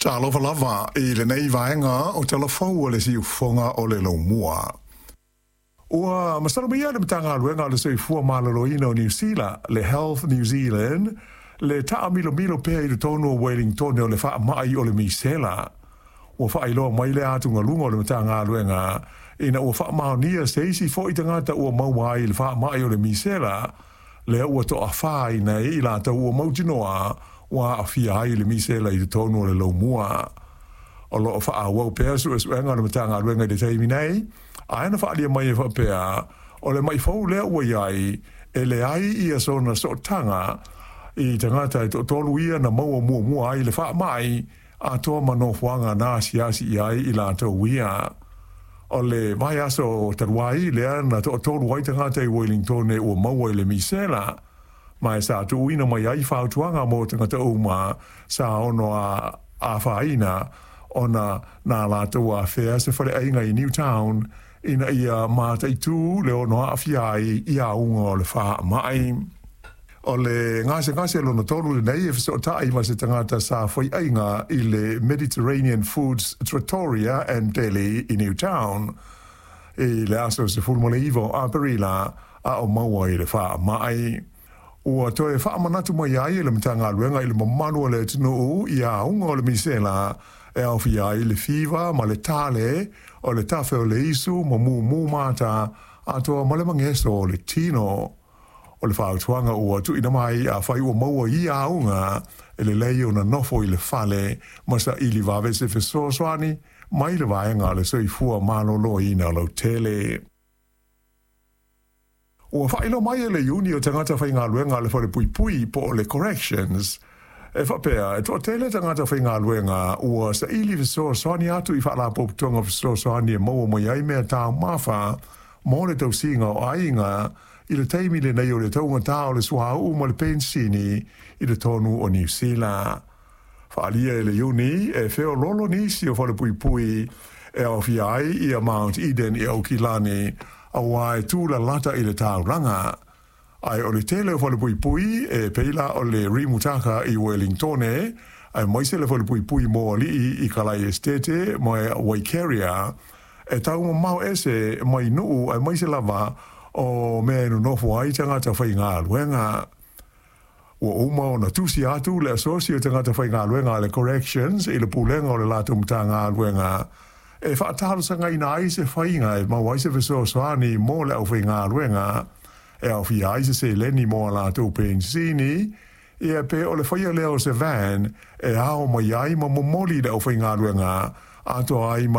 Talofa lava i lenei vaega o Tala Fou o le Siufofoga o le Laumua. Ua masalomia le Matagaluega o le Soifua Maloloina o Niu Sila, le Health New Zealand, le taamilomilo pea i totonu o Wellingtone o le faamai o le misela. Ua faailoa mai le atugaluga o le Matagaluega ina ua faamaonia se isi foi tagata ua maua ai i le faamai o le misela, lea ua toafaina ai i latou ua mautinoa ua aafia ai i le misela i totonu o le Laumua. O loo faaauau pea suesuega a le Matagaluega i le taimi nei, ae na faaalia mai e faapea, o le mai fou lea ua i ai, e leai ia sona sootaga i tagata e toatolu ia na maua muamua ai le faamai, atoa ma nofoaga na asiasi i ai i latou ia. O le vaiaso talu ai lea na toatolu ai tagata i Wellingtone ua maua i le misela, ma e sa tuuina mai ai fautuaga mo tagata uma sa ono afaina ona na latou afea se faleaiga i Newtown ina ia mataitū le ono aafia ai i auga o le faamai. O le gasegase lona tolu lenei e fesootai ma se tagata sa faiaiga i le Mediterranean Foods Trattoria and Deli i Newtown i le aso 19 o Aperila a o maua i le faamai. Ua toe faamanatu mai ai e le Matagaluega i le mamalu o le atunuu i auga o le misela e aofia ai le fiva ma le tale o le tafe o le isu ma mumu mata atoa ma le mageso o le tino. O le fautuaga ua tuuina mai afai ua maua i ia auga, e lelei ona nofo i le fale ma saili vave se fesoasoani mai le vaega o le soifua maloloina lautele. Ua faailoa mai e le Iuni o Tagata Faigaluega a le Falepuipui po o le Corrections, e faapea, e toatele tagata faigaluega ua saili fesoasoani atu i faalapotopotoga fesoasoani e maua mai ai mea taumafa mo le tausiga o aiga i le taimi lenei o le taugata o le suauu ma le penisini i totonu o Niu Sila. Faaalia e le Iuni e feoloolo nisi o falepuipui e aofia ai ia Mount Eden i Aukilani, auā e tūlalata i le taulaga. Ae o le tele o falepuipui e pei la o le Rimutaka i Wellingtone, aemaise le falepuipui mo alii i Kalai Esitete ma Waikeria, e taumamao ese mai nuu aemaise lava o mea e nonofo ai tagata faigaluega. Ua uma ona tusi atu le Asosi o Tagata Faigaluega a le Corrections i le Pulega o le latou Matagaluega e faatalosagaina ai se faiga e maua ai se fesoasoani mo le aufaigaluega e aofia ai se seleni mo a latou penisini, ia pe o le faia lea o se van e ao mai ai ma momoli le aufaigaluega atoa ai ma